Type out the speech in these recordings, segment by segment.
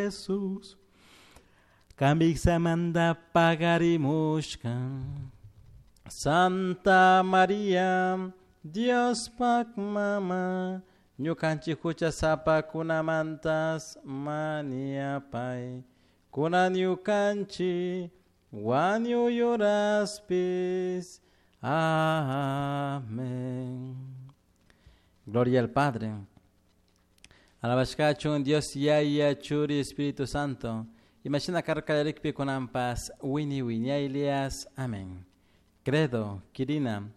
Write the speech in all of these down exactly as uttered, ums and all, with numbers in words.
Jesús. Kamiksamanta pagarimushka. Santa Maria, Diospak mama, ñukanchik huchasapakunamantas mañapay. Kunan ñukanchik wañuy horaspis. Amén. Gloria al Padre. Alabashkachun Dios Yaya Churi Espíritu Santo. Imashina karka kunanpas wiñay wiñaylias. Amén. Credo, Kirina.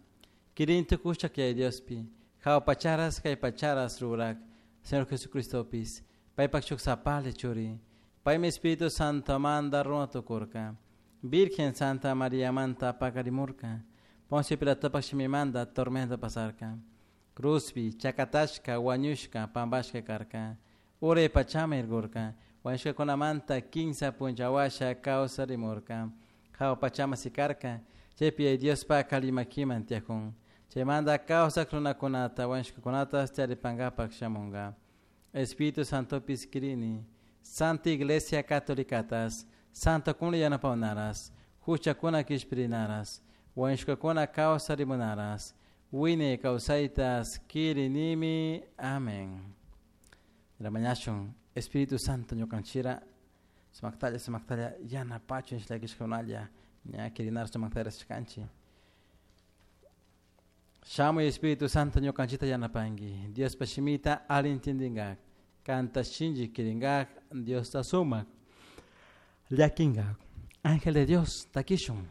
Kirin tukushak Yaya Diospi. Jahua pacharas kay pacharas rurak. Señor Jesucristopis. Paypak shuk sapalla churi. Paymi Espíritu Santo manta runa tukurka. Virgen Santa María manta pakarimurka. Poncio Pilatopak shimimanta tormento pasarka. Cruzpi, chakatashka, wañushka, pampashka karka. Uray pachama irkurka. Wañushkakunamanta kinsa punlla washa kawsarimurka. Jahua pachama sikarka. Chaypi Diospak alli makiman tiyakun. Chaymanta kawsak runakunata wañushkakunata taripankapak shamunka. Espíritu Santopis kirini. Santa Iglesia Catolicatas. Santokuna yanapawnaras. Huchakuna kishpirinaras. Wañushkakuna kawsarimunaras. Wiñay kawsaytas kirinimi. Amén. Mañashun Espíritu Santo ñukanchira sumaktalla sumaktalla yanapachun llakishkakunalla ña kirinar sumakta rashkanchik. Shamuy Espíritu Santo ñukanchita yanapanki. Diospa shimita alli entiendingak. Kanta shinchi kirinkak Diosta sumak. Llakinkak. Ángel de Dios, takishun.